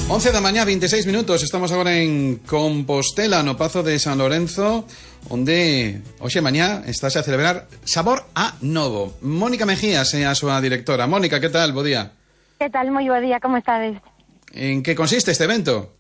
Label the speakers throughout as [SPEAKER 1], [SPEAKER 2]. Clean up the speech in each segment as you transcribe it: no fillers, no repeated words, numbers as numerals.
[SPEAKER 1] 11 da mañá, 26 minutos. Estamos agora en Compostela, no Pazo de San Lorenzo, onde hoxe mañá estase a celebrar Sabor a Novo. Mónica Mejías é a súa directora. Mónica, que tal? Bo día.
[SPEAKER 2] Que tal? Moi bo día, como estades?
[SPEAKER 1] En que consiste este evento?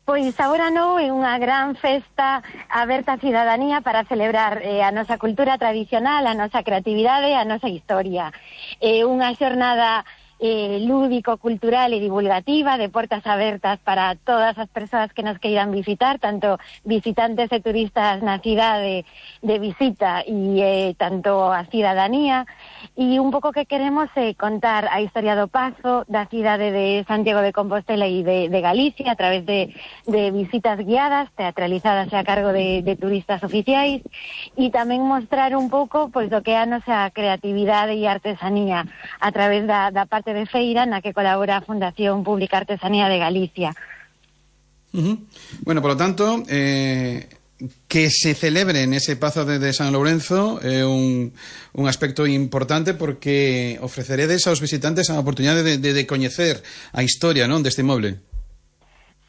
[SPEAKER 2] Pois Sabor a Novo é unha gran festa aberta á cidadanía para celebrar a nosa cultura tradicional, a nosa creatividade, a nosa historia. É unha xornada lúdico-cultural e divulgativa de portas abertas para todas as persoas que nos queiran visitar, tanto visitantes e turistas na cidade de visita e tanto a cidadanía, e un pouco que queremos é contar a historia do Pazo, da cidade de Santiago de Compostela e de Galicia a través de visitas guiadas, teatralizadas a cargo de turistas oficiais, e tamén mostrar un pouco pois do que é a nosa creatividade e artesanía a través da parte de feira na que colabora a Fundación Pública Artesanía de Galicia.
[SPEAKER 1] Bueno, por lo tanto, que se celebre en ese Pazo de San Lourenzo é un aspecto importante porque ofreceredes aos visitantes a oportunidade de coñecer a historia, non, deste inmoble.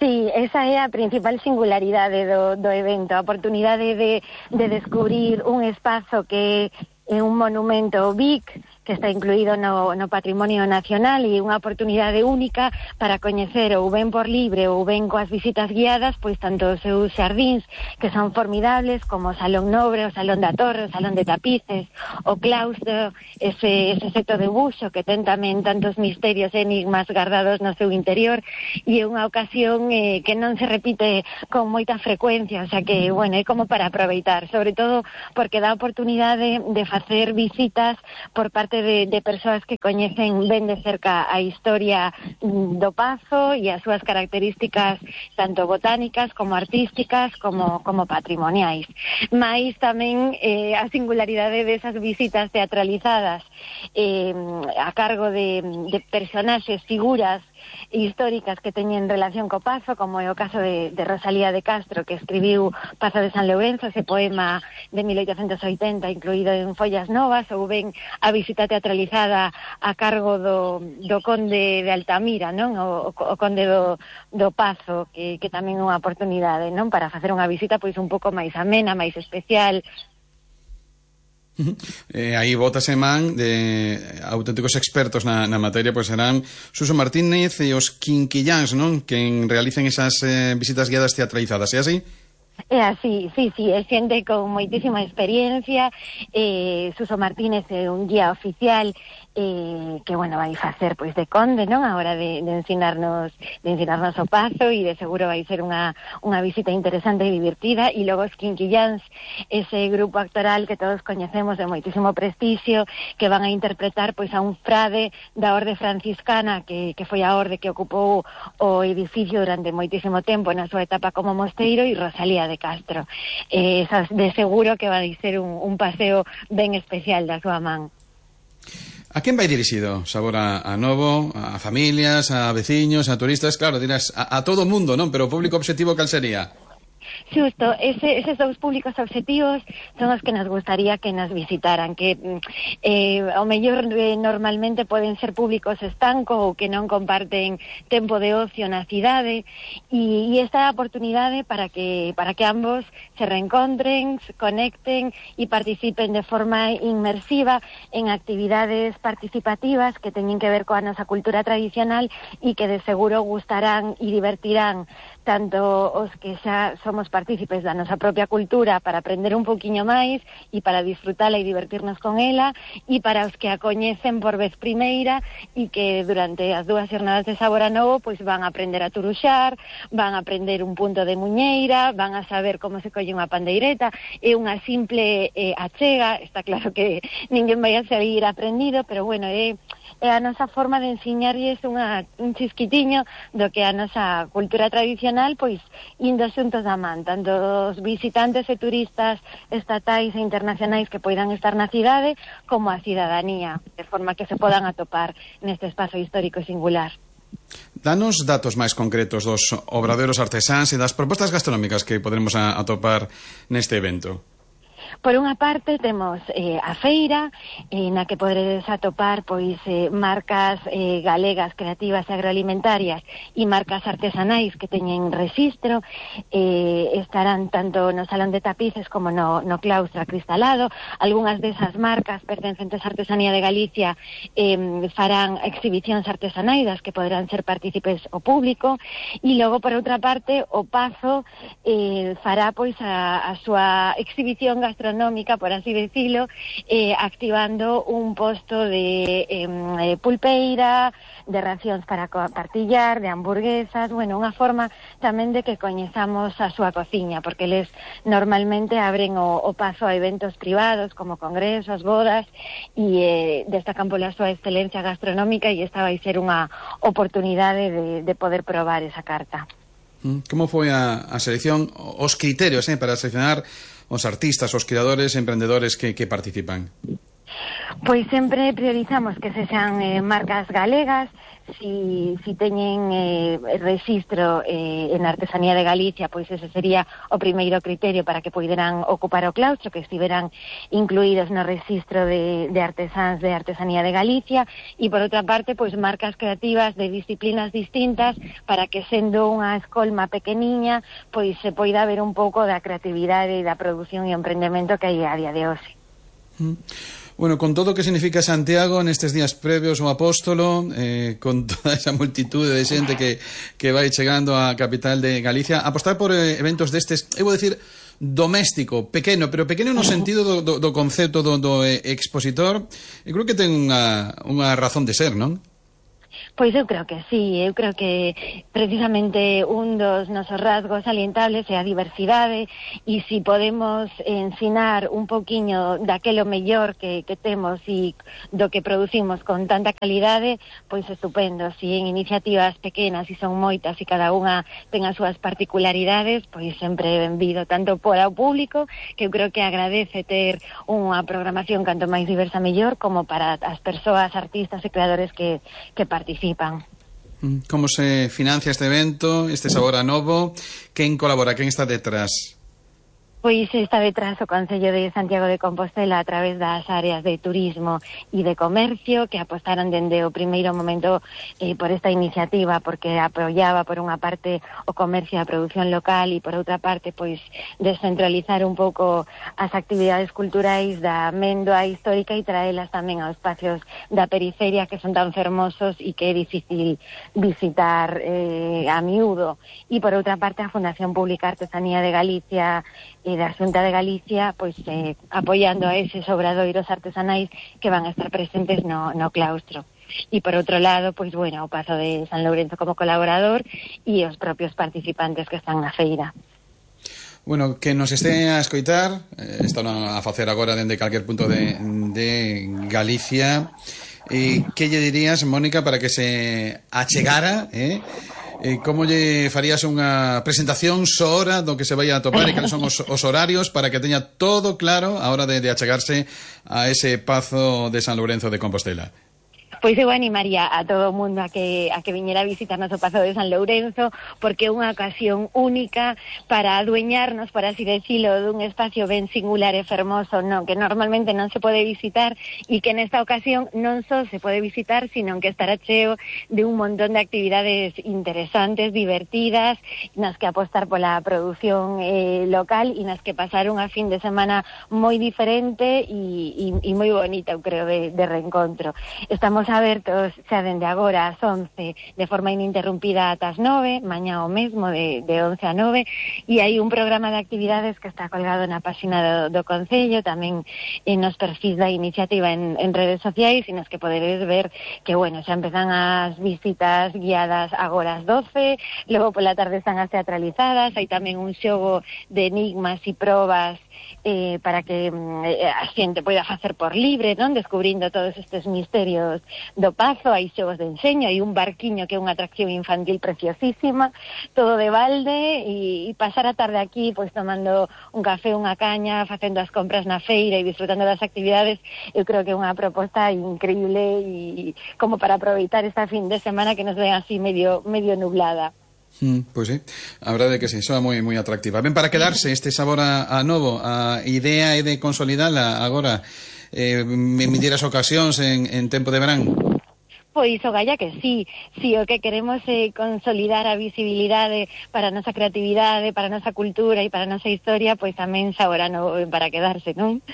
[SPEAKER 2] Sí, esa é a principal singularidade do evento, a oportunidade de descubrir un espazo que é un monumento BIC, que está incluído no Patrimonio Nacional, e unha oportunidade única para coñecer ou ben por libre ou ben coas visitas guiadas, pois tanto os seus xardíns, que son formidables, como o Salón Nobre, o Salón da Torre, o Salón de Tapices, o claustro, ese seto de buxo que ten tamén tantos misterios e enigmas guardados no seu interior, e é unha ocasión que non se repite con moita frecuencia, o sea que, bueno, é como para aproveitar, sobre todo porque dá oportunidade de facer visitas por parte de persoas que coñecen ben de cerca a historia do Pazo e as súas características tanto botánicas como artísticas como patrimoniais. Mais tamén a singularidade desas visitas teatralizadas a cargo de personaxes, figuras históricas que teñen relación co Pazo, como é o caso de Rosalía de Castro, que escribiu Pazo de San Lourenzo, ese poema de 1880 incluído en Follas Novas, ou ben a visita teatralizada a cargo do conde de Altamira, non? O conde do Pazo, que tamén é unha oportunidade, non? Para facer unha visita pois un pouco máis amena, máis especial.
[SPEAKER 1] Aí bótase man de auténticos expertos na materia, pois serán Suso Martínez e os Quinquilláns, non? Que realicen esas visitas guiadas teatralizadas, é así?
[SPEAKER 2] É así, sí, é xente con moitísima experiencia. Suso Martínez é un guía oficial que, bueno, vai facer pois de conde, non? A hora de ensinarnos o Pazo, e de seguro vai ser unha visita interesante e divertida. E logo os Quinquilláns, ese grupo actoral que todos coñecemos de moitísimo prestixio, que van a interpretar pois a un frade da orde franciscana que foi a orde que ocupou o edificio durante moitísimo tempo na súa etapa como mosteiro, e Rosalía de Castro. Esas de seguro que vai ser un paseo ben especial da súa man.
[SPEAKER 1] A quen vai dirixido Sabor a Novo? A familias, a veciños, a turistas? Claro, dirás, a todo o mundo, non? Pero o público objetivo cal sería?
[SPEAKER 2] Xusto, eses dous públicos obxectivos son os que nos gustaría que nos visitaran, que ao mellor normalmente poden ser públicos estancos ou que non comparten tempo de ocio na cidade, e esta é a oportunidade para que ambos se reencontren, se conecten e participen de forma inmersiva en actividades participativas que teñen que ver coa nosa cultura tradicional e que de seguro gustarán e divertirán tanto os que xa somos partícipes da nosa propia cultura para aprender un pouquiño máis e para disfrutala e divertirnos con ela, e para os que a coñecen por vez primeira e que durante as dúas xornadas de Sabor a Novo pois van a aprender a turuxar, van a aprender un punto de muñeira, van a saber como se colle unha pandeireta. É unha simple achega, está claro que ninguén vai a sair aprendido, pero bueno, é a nosa forma de ensiñarlles un chisquitiño do que a nosa cultura tradicional, pois indo xuntos da man, tanto os visitantes e turistas estatais e internacionais que poidan estar na cidade, como a cidadanía, de forma que se podan atopar neste espazo histórico e singular.
[SPEAKER 1] Danos datos máis concretos dos obradoiros artesáns e das propostas gastronómicas que poderemos atopar neste evento.
[SPEAKER 2] Por unha parte temos a feira, na que poderedes atopar pois marcas galegas, creativas e agroalimentarias e marcas artesanais que teñen rexistro, estarán tanto no Salón de Tapices como no claustro acristalado. Algúnas desas marcas pertencentes á Artesanía de Galicia farán exhibicións artesanais das que poderán ser partícipes o público, e logo por outra parte o Pazo fará pois a súa exhibición gastronómica, por así decirlo, activando un posto de pulpeira, de racións para partillar, de hamburguesas, bueno, unha forma tamén de que coñezamos a súa cociña, porque eles normalmente abren o Pazo a eventos privados como congresos, bodas, e destacan pola súa excelencia gastronómica, e esta vai ser unha oportunidade de poder probar esa carta.
[SPEAKER 1] Como foi a selección, os criterios para seleccionar os artistas, os creadores, emprendedores que participan?
[SPEAKER 2] Pois sempre priorizamos que se sean marcas galegas. Si teñen rexistro en Artesanía de Galicia, pois ese sería o primeiro criterio para que poideran ocupar o claustro, que estiveran incluídos no rexistro de artesáns de Artesanía de Galicia, e por outra parte, pois marcas creativas de disciplinas distintas, para que sendo unha escolma pequeniña, pois se poida ver un pouco da creatividade e da produción e emprendemento que hai a día de hoxe.
[SPEAKER 1] Bueno, con todo o que significa Santiago nestes días previos ao Apóstolo, con toda esa multitude de xente que vai chegando á capital de Galicia, apostar por eventos destes, eu vou dicir, doméstico, pequeno, pero pequeno no sentido do concepto do expositor, eu creo que ten unha razón de ser, non?
[SPEAKER 2] Pois eu creo que sí, eu creo que precisamente un dos nosos rasgos salientables é a diversidade, e si podemos ensinar un poquiño daquelo mellor que temos e do que producimos con tanta calidade, pois estupendo. Si en iniciativas pequenas, e son moitas, e cada unha ten as súas particularidades, pois sempre benvido, tanto para o público, que eu creo que agradece ter unha programación canto máis diversa mellor, como para as persoas, artistas e creadores que participan.
[SPEAKER 1] Como se financia este evento, este Sabor a Novo? Quen colabora, quen está detrás?
[SPEAKER 2] Pois está detrás o Concello de Santiago de Compostela a través das áreas de turismo e de comercio, que apostaron dende o primeiro momento por esta iniciativa, porque apoiaba por unha parte o comercio e a produción local, e por outra parte pois descentralizar un pouco as actividades culturais da Méndoa histórica e traelas tamén aos espacios da periferia, que son tan fermosos e que é difícil visitar a miúdo. E por outra parte a Fundación Pública Artesanía de Galicia e da Xunta de Galicia, pois apoiando a eses obradoiros artesanais que van a estar presentes no claustro. E por outro lado, pois bueno, o Pazo de San Lourenzo como colaborador e os propios participantes que están na feira.
[SPEAKER 1] Bueno, que nos este a escoitar, están a facer agora dende calquer punto de Galicia, que lle dirías, Mónica, para que se achegara, como lle farías unha presentación hora do que se vai a topar e cales son os horarios para que teña todo claro a hora de achegarse a ese Pazo de San Lourenzo de Compostela?
[SPEAKER 2] Pois eu animaría a todo o mundo a que viñera a visitarnos o Pazo de San Lourenzo, porque é unha ocasión única para adueñarnos, por así decirlo, dun espacio ben singular e fermoso, que normalmente non se pode visitar, e que nesta ocasión non só se pode visitar, sino que estará cheo de un montón de actividades interesantes, divertidas, nas que apostar pola produción local, e nas que pasar unha fin de semana moi diferente e moi bonita, eu creo, de reencontro. Estamos abertos xa dende agora ás 11 de forma ininterrumpida ata as 9, mañá o mesmo de 11 a 9, e hai un programa de actividades que está colgado na página do Concello, tamén nos perfis da iniciativa en redes sociais, e nas que poderedes ver que, bueno, xa empezan as visitas guiadas agora ás 12, logo pola tarde están as teatralizadas, hai tamén un xogo de enigmas e probas para que a xente poida facer por libre, descubrindo todos estes misterios do Pazo. Hai xogos de enseño, hai un barquiño que é unha atracción infantil preciosísima, todo de balde, e pasar a tarde aquí pois tomando un café, unha caña, facendo as compras na feira e disfrutando das actividades. Eu creo que é unha proposta increíble, e como para aproveitar esta fin de semana que nos ven así medio nublada.
[SPEAKER 1] Pois sí, a verdade é que sí, soa moi atractiva. Ben, para quedarse este sabor a novo, a idea é de consolidala agora, me dieras ocasións en tempo de verán.
[SPEAKER 2] Pois o galla que sí, o que queremos é consolidar a visibilidade para a nosa creatividade, para a nosa cultura e para a nosa historia, pois tamén sabor a novo para quedarse, non?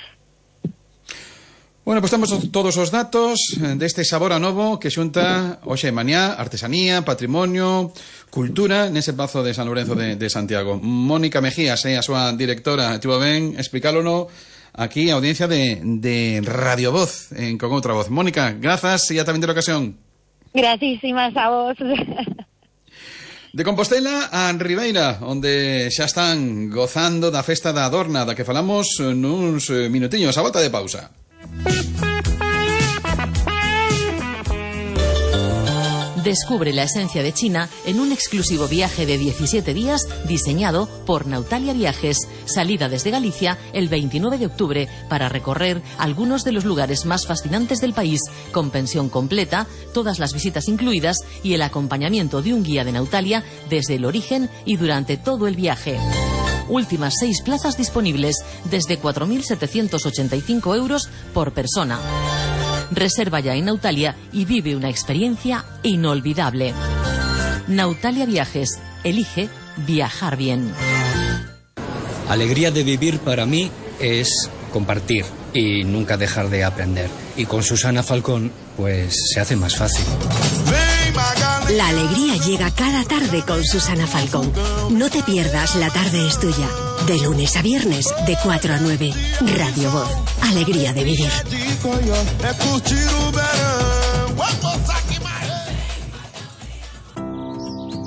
[SPEAKER 1] Bueno, pois temos todos os datos deste sabor a novo que xunta hoxe e mañá artesanía, patrimonio, cultura nese pazo de San Lourenzo de Santiago. Mónica Mejías é a súa directora, tivo ben explicálono aquí a audiencia de Radio Voz con outra voz. Mónica, grazas e ata vindeira ocasión.
[SPEAKER 2] Gracísimas a vos.
[SPEAKER 1] De Compostela a Ribeira, onde xa están gozando da festa da Adorna, da que falamos nuns minutiños, a volta de pausa.
[SPEAKER 3] Descubre la esencia de China en un exclusivo viaje de 17 días diseñado por Nautalia Viajes. Salida desde Galicia el 29 de octubre para recorrer algunos de los lugares más fascinantes del país, con pensión completa, todas las visitas incluidas y el acompañamiento de un guía de Nautalia desde el origen y durante todo el viaje. Últimas 6 plazas disponibles desde 4.785 euros por persona. Reserva ya en Nautalia y vive una experiencia inolvidable. Nautalia Viajes. Elige viajar bien.
[SPEAKER 4] Alegría de vivir para mí es compartir y nunca dejar de aprender. Y con Susana Falcón, pues se hace más fácil.
[SPEAKER 5] La alegría llega cada tarde con Susana Falcón. No te pierdas La tarde es tuya. De lunes a viernes, de 4 a 9. Radio Voz. Alegría de vivir.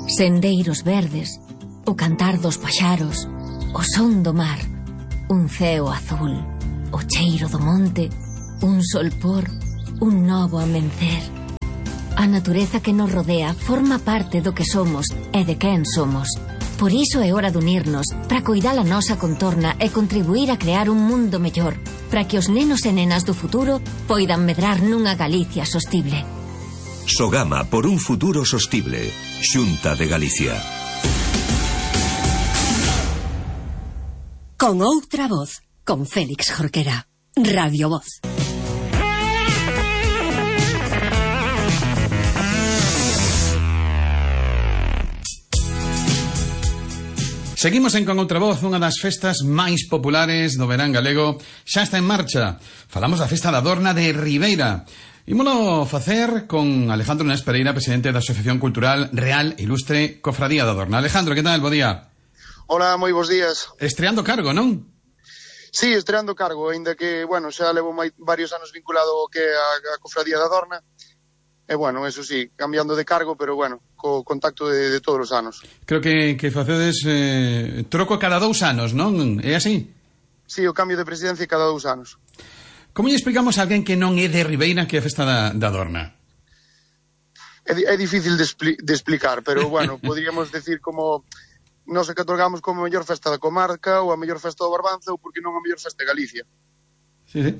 [SPEAKER 5] Sendeiros verdes, o cantar dos paxaros, o son do mar, un ceo azul, o cheiro do monte, un solpor, un novo amencer. A natureza que nos rodea forma parte do que somos e de quen somos. Por iso é hora de unirnos para coidar a nosa contorna e contribuir a crear un mundo mellor, para que os nenos e nenas do futuro poidan medrar nunha Galicia sostible.
[SPEAKER 6] Sogama por un futuro sostible. Xunta de Galicia.
[SPEAKER 5] Con outra voz, con Félix Jorquera. Radio Voz.
[SPEAKER 1] Seguimos en Con outra voz, unha das festas máis populares do verán galego. Xa está en marcha. Falamos da festa da Adorna de Ribeira. Ímolo facer con Alejandro Nés Pereira, presidente da Asociación Cultural Real Ilustre Cofradía da Adorna. Alejandro, que tal? Bo día.
[SPEAKER 7] Hola, moi bons días.
[SPEAKER 1] Estreando cargo, non?
[SPEAKER 7] Sí, estreando cargo, ainda que, bueno, xa levo varios anos vinculado ao que a Cofradía da Adorna. E, bueno, eso sí, cambiando de cargo, pero, bueno, co contacto de todos os anos.
[SPEAKER 1] Creo que facedes troco cada 2 anos, non? É así?
[SPEAKER 7] Sí, o cambio de presidencia cada 2 anos.
[SPEAKER 1] Como lle explicamos a alguén que non é de Ribeira que é a festa da Adorna?
[SPEAKER 7] É difícil de explicar, pero, bueno, podríamos decir como nos catalogamos como a mellor festa da comarca ou a mellor festa do Barbanza ou porque non a mellor festa de Galicia.
[SPEAKER 1] Sí, sí.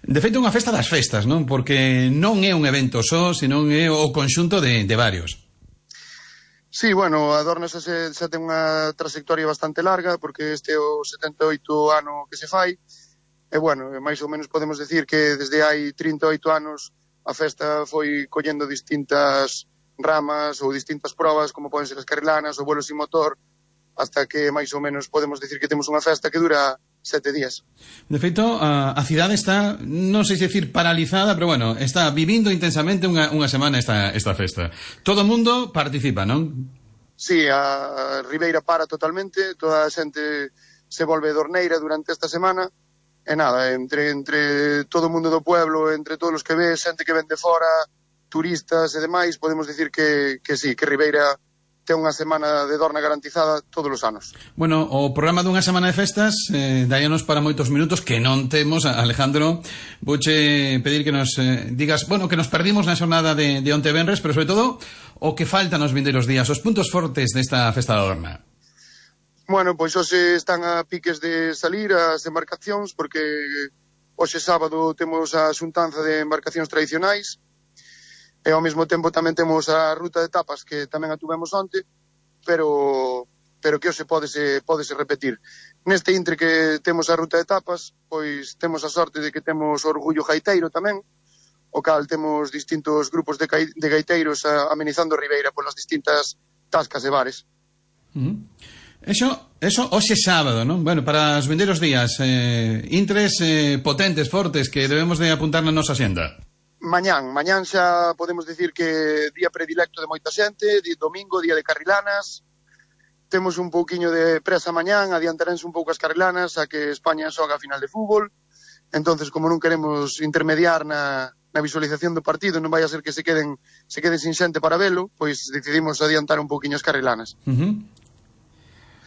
[SPEAKER 1] De feito, unha festa das festas, non? Porque non é un evento só, senón é o conxunto de varios.
[SPEAKER 7] Sí, bueno, a Adorna xa ten unha trayectoria bastante larga, porque este é o 78 ano que se fai, e, bueno, máis ou menos podemos decir que desde hai 38 anos a festa foi collendo distintas ramas ou distintas probas, como poden ser as carrilanas ou vuelos sin motor, hasta que máis ou menos podemos decir que temos unha festa que dura 7 días.
[SPEAKER 1] De feito, a cidade está, non sei se decir paralizada, pero bueno, está vivindo intensamente unha semana esta festa. Todo o mundo participa, non?
[SPEAKER 7] Sí, a Ribeira para totalmente, toda a xente se volve dorneira durante esta semana, e nada, entre todo o mundo do pueblo, entre todos os que ve, xente que ven de fora, turistas e demais, podemos decir que sí, que Ribeira ten unha semana de Dorna garantizada todos os anos.
[SPEAKER 1] Bueno, o programa dunha semana de festas daíanos para moitos minutos que non temos, Alejandro. Vouche pedir que nos digas, bueno, que nos perdimos na xornada de onte venres, pero sobre todo o que falta nos vindeiros días, os puntos fortes desta festa da Adorna.
[SPEAKER 7] Bueno, pois hoxe están a piques de salir as embarcacións, porque hoxe sábado temos a xuntanza de embarcacións tradicionais, e ao mesmo tempo tamén temos a ruta de tapas, que tamén a tuvemos onte, pero que hoxe pódese repetir. Neste intre que temos a ruta de etapas, pois temos a sorte de que temos Orgullo Gaiteiro tamén, o cal temos distintos grupos de gaiteiros amenizando Ribeira polas distintas tascas e bares.
[SPEAKER 1] Eso hoxe sábado, non? Bueno, para os vindeiros días, intres potentes, fortes, que debemos de apuntar na nosa xenda.
[SPEAKER 7] Mañán xa podemos dicir que día predilecto de moita xente, domingo, día de carrilanas. Temos un pouquiño de presa mañán, adiantarense un pouco as carrilanas a que España xoga a final de fútbol. Entonces, como non queremos intermediar na visualización do partido, non vai a ser que se queden sin xente para velo, pois decidimos adiantar un pouquiño as carrilanas.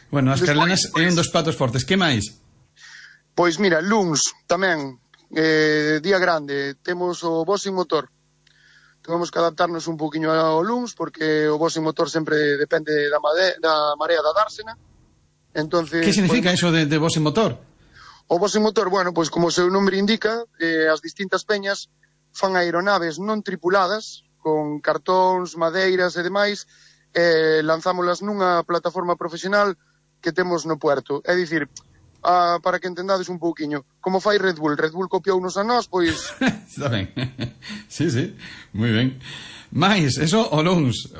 [SPEAKER 1] Bueno, as carrilanas é un dos platos fortes. Que máis?
[SPEAKER 7] Pois mira, luns tamén, día grande, temos o Boxing Motor. Temos que adaptarnos un poquinho ao luns, porque o Boxing Motor sempre depende da marea da dársena. Entonces,
[SPEAKER 1] que significa eso de Boxing Motor?
[SPEAKER 7] O Boxing Motor, bueno, pois como o seu nome indica, as distintas peñas fan aeronaves non tripuladas, con cartóns, madeiras e demais, lanzámolas nunha plataforma profesional que temos no puerto. É dicir, para que entendades un pouquiño, como fai Red Bull copiounos a nós, pois...
[SPEAKER 1] Está ben, sí, moi ben. Mais, eso o luns.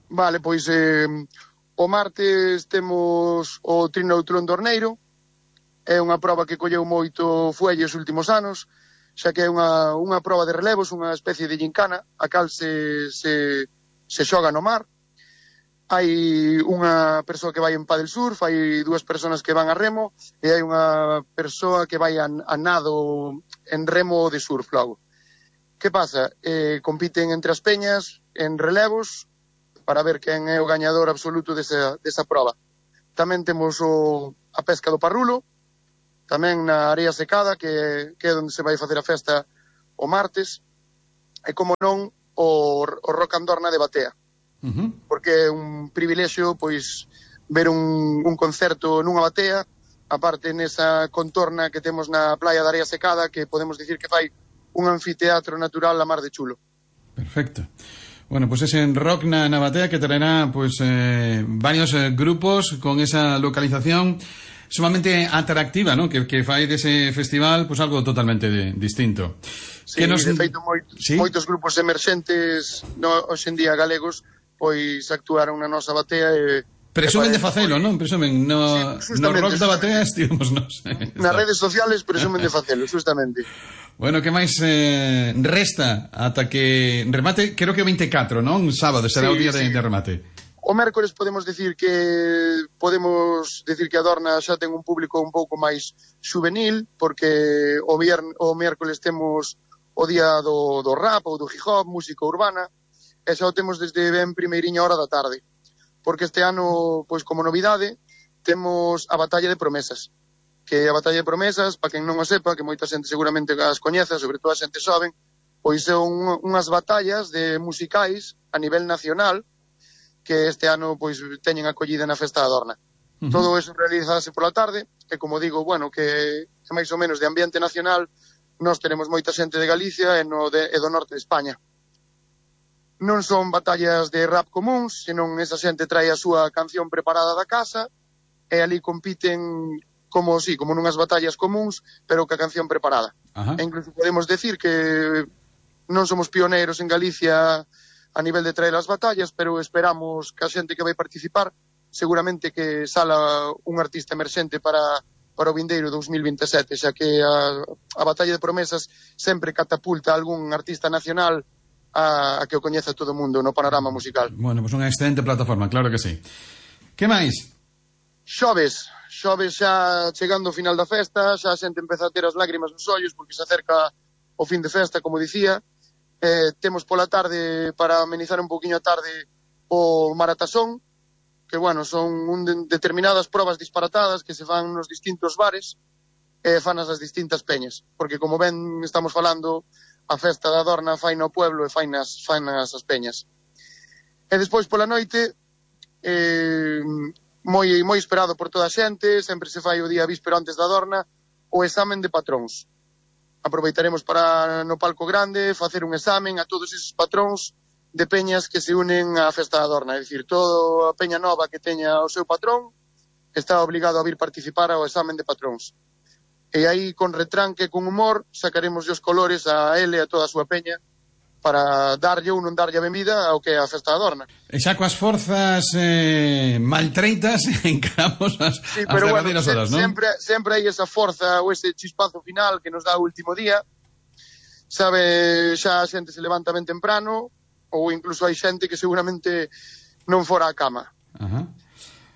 [SPEAKER 7] Vale, pois o martes temos o Trinoutlón do Orneiro. É unha proba que colleu moito fuelle os últimos anos, xa que é unha proba de relevos, unha especie de gincana, a cal se xoga no mar. Hai unha persoa que vai en paddle surf, hai dúas persoas que van a remo e hai unha persoa que vai a nado en remo de surf logo. Que pasa? Compiten entre as peñas en relevos para ver quen é o gañador absoluto desa proba. Tamén temos a pesca do parrulo, tamén na area secada, que é onde se vai facer a festa o martes, e como non o Rock Andorna de Batea. Porque é un privilexio pois ver un concerto nunha batea, aparte nesa contorna que temos na playa da Area Secada, que podemos dicir que fai un anfiteatro natural a mar de chulo.
[SPEAKER 1] Perfecto. Bueno, pues ese rock na batea que traerá pues varios grupos con esa localización sumamente atractiva, ¿no? Que fai dese festival pues algo totalmente distinto.
[SPEAKER 7] Sí, de feito moitos grupos emerxentes hoxe en día galegos pois actuaron na nosa batea e
[SPEAKER 1] presumen de facelo, non? Presumen no rock da batea estivemos nos.
[SPEAKER 7] Nas redes sociales presumen de facelo, justamente.
[SPEAKER 1] Bueno, que máis resta ata que remate, creo que o 24, non? Sábado será o día de remate.
[SPEAKER 7] O mércores podemos decir que a Dorna xa ten un público un pouco máis juvenil, porque o mércores temos o día do rap ou do hip hop, música urbana, e xa o temos desde ben primeiriña hora da tarde, porque este ano, pois como novidade, temos a Batalla de Promesas, que a Batalla de Promesas, para quen non o sepa, que moita xente seguramente as coñeza, sobre todo a xente xoven, pois son unhas batallas de musicais a nivel nacional, que este ano pois teñen acollida na Festa da Dorna. Todo eso realizase pola tarde, e como digo, bueno, que máis ou menos de ambiente nacional, nós tenemos moita xente de Galicia e do norte de España. Non son batallas de rap comuns, senón esa xente trae a súa canción preparada da casa e ali compiten como nunhas batallas comuns, pero ca canción preparada. E incluso podemos decir que non somos pioneiros en Galicia a nivel de traer as batallas, pero esperamos que a xente que vai participar seguramente que sala un artista emerxente para o vindeiro 2027, xa que a Batalla de Promesas sempre catapulta algún artista nacional a que o coñeza todo o mundo no panorama musical.
[SPEAKER 1] Bueno, pues unha excelente plataforma, claro que sí. Que máis?
[SPEAKER 7] Xoves xa chegando ao final da festa, xa a xente empeza a ter as lágrimas nos ollos porque se acerca o fin de festa, como dicía. Temos pola tarde, para amenizar un poquinho a tarde, o Maratasón, que, bueno, son determinadas probas disparatadas que se fan nos distintos bares e fanas as distintas peñas, porque como ben estamos falando, a festa da Dorna fai no pueblo e fai nas as peñas. E despois pola noite, moi esperado por toda a xente, sempre se fai o día víspero antes da Dorna, o examen de patróns. Aproveitaremos para no palco grande facer un examen a todos esos patróns de peñas que se unen á Festa da Adorna, é dicir, toda a peña nova que teña o seu patrón está obligado a vir participar ao examen de patróns. E aí, con retranque, con humor, sacaremos os colores a ele e a toda a súa peña para darlle ou non darlle a benvida ao que é a Festa da Adorna.
[SPEAKER 1] E xa coas forzas maltreitas encaramos as derradeiras horas, non?
[SPEAKER 7] Sempre hai esa forza ou ese chispazo final que nos dá o último día. Sabe, xa a xente se levanta ben temprano, ou incluso hai xente que seguramente non fora á cama.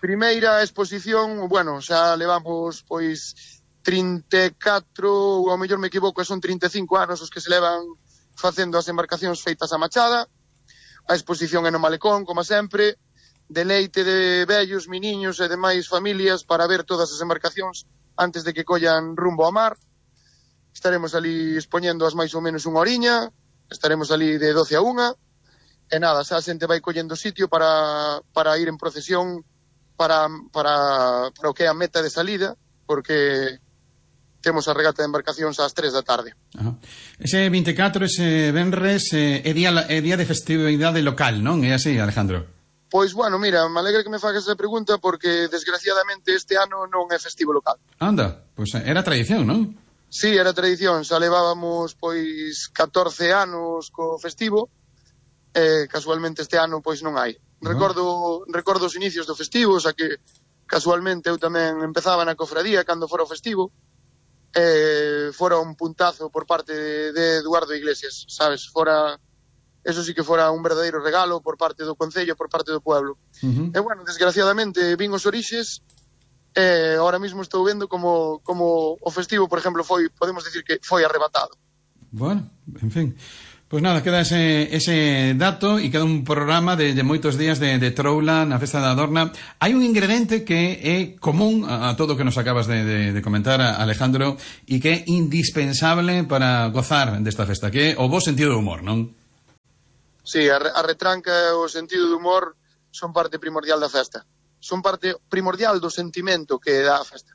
[SPEAKER 7] Primeira exposición, bueno, xa levamos pois 34, ou ao mellor me equivoco, son 35 anos os que se levan facendo as embarcacións feitas a machada. A exposición é no Malecón, como sempre, deleite de vellos, miniños e demais familias para ver todas as embarcacións antes de que collan rumbo ao mar. Estaremos ali expoñendo as máis ou menos unha horiña, estaremos ali de 12 a 1, e nada, xa a xente vai collendo sitio para ir en procesión para o que é a meta de salida, porque temos a regata de embarcacións ás 3 da tarde.
[SPEAKER 1] Ese 24, ese venres, é día de festividade local, non? É así, Alejandro?
[SPEAKER 7] Pois, bueno, mira, me alegra que me fagas esa pregunta porque, desgraciadamente, este ano non é festivo local.
[SPEAKER 1] Anda, pois era tradición, non?
[SPEAKER 7] Sí, era tradición, xa levábamos, pois, 14 anos co festivo, casualmente este ano, pois, non hai. Recordo os inicios do festivo, xa que, casualmente, eu tamén empezaba na cofradía cando fora o festivo, fora un puntazo por parte de Eduardo Iglesias, sabes, eso sí que fora un verdadeiro regalo por parte do Concello, por parte do pueblo. E bueno, desgraciadamente vin os orixes, ahora mismo estou vendo como o festivo, por exemplo, podemos decir que foi arrebatado.
[SPEAKER 1] Bueno, en fin, pois nada, queda ese dato e queda un programa de moitos días de troula na Festa da Adorna. Hai un ingrediente que é común a todo o que nos acabas de comentar, Alejandro, e que é indispensable para gozar desta festa, que é o bo sentido do humor, non?
[SPEAKER 7] Sí, a retranca e o sentido do humor son parte primordial da festa. Son parte primordial do sentimento que dá a festa.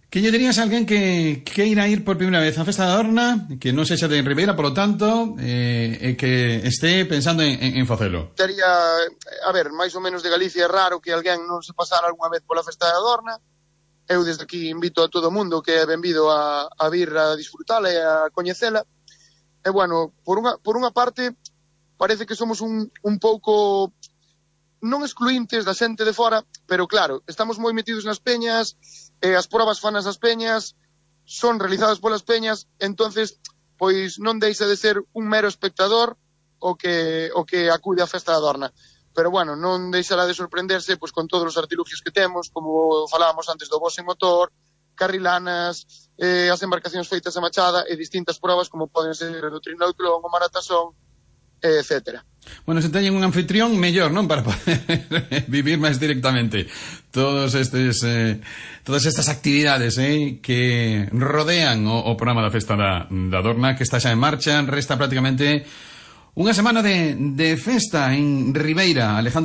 [SPEAKER 1] Que lle dirías a alguén que irá ir por primeira vez á Festa da Adorna, que non sexa de Ribeira, por lo tanto, e que este pensando en facelo?
[SPEAKER 7] A ver, máis ou menos de Galicia é raro que alguén non se pasara algunha vez pola Festa da Adorna. Eu desde aquí invito a todo o mundo que é benvido a vir a disfrutala e a coñecela. E bueno, por unha parte, parece que somos un pouco non excluíntes da xente de fora, pero claro, estamos moi metidos nas peñas, as probas fanas das peñas, son realizadas polas peñas, entonces, pois non deixa de ser un mero espectador o que acude á Festa da Adorna. Pero bueno, non deixará de sorprenderse pois con todos os artilugios que temos, como falábamos antes do boxe en motor, carrilanas, as embarcacións feitas a machada e distintas probas como poden ser o trinautlón, o maratasón, etcétera.
[SPEAKER 1] Bueno, se teñen un anfitrión mellor, non? Para poder vivir máis directamente todas estas actividades que rodean o programa da Festa da Adorna, que está xa en marcha. Resta prácticamente unha semana de festa en Ribeira, Alejandro.